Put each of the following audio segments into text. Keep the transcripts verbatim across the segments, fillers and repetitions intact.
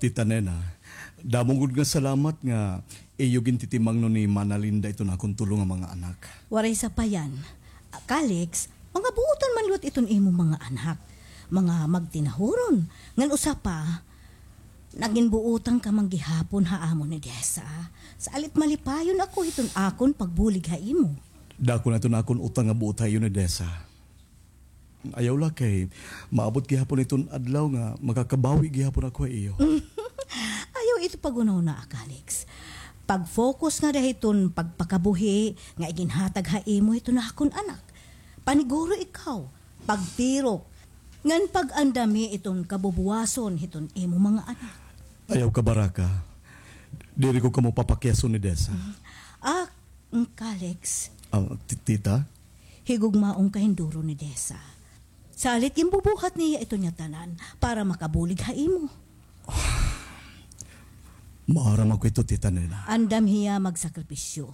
Tita Nena, damo gud nga salamat nga iyo gintitimangnon ni Mana Linda iton akon tulo nga mga anak. Waray sapayan. Calix, mga buotan man liwat iton imo mga anak. Mga magtinahuron. Ngan usa pa, nagin buotan ka man gihapon ha amo ni Desa. Salit malipayon ako hiton akon pagbulig ha imo. Dako na iton akon utang nga buot ha iyo ni Desa. Ayaw la kay maabot gihapon iton adlaw nga makakabawi gihapon ako ha iyo. Ayaw ito paghunahunaa, Calix. Pag-focus ngada hiton pagpakabuhi nga iginhatag ha imo hiton akon anak. Paniguro ikaw, pagtirok, ngan pag-andami iton kabubuwason hiton imo mga anak. Ayaw kabaraka. Diri ko kamo papakyason ni Desa. Ah, Calix. Ah, ti-, tita? Higugmaon ka hin duro ni Desa. Salit ginbubuhat niya iton niya tanan para makabulig ha imo. Maaram ako ito, Tita Nena. Andam hiya magsakripisyo.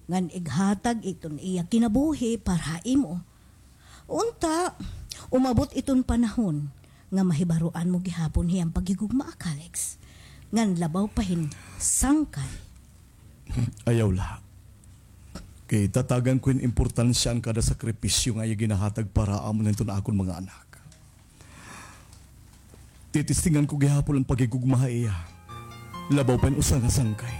Ngan ighatag iton iya kinabuhi para ha imo. Unta, umabot iton panahon nga mahibaroan mo gihapon hiyang paghigugma, Calix. Ngan labaw pa hin sangkay. Ayaw la. Kay tatagan ko hin importansya an kada sakripisyo nga iya ginahatag para amo hiton akon mga anak. Titistingan ko gihapon an paghigugma ha iya. Labaw pa hin usa nga sangkay.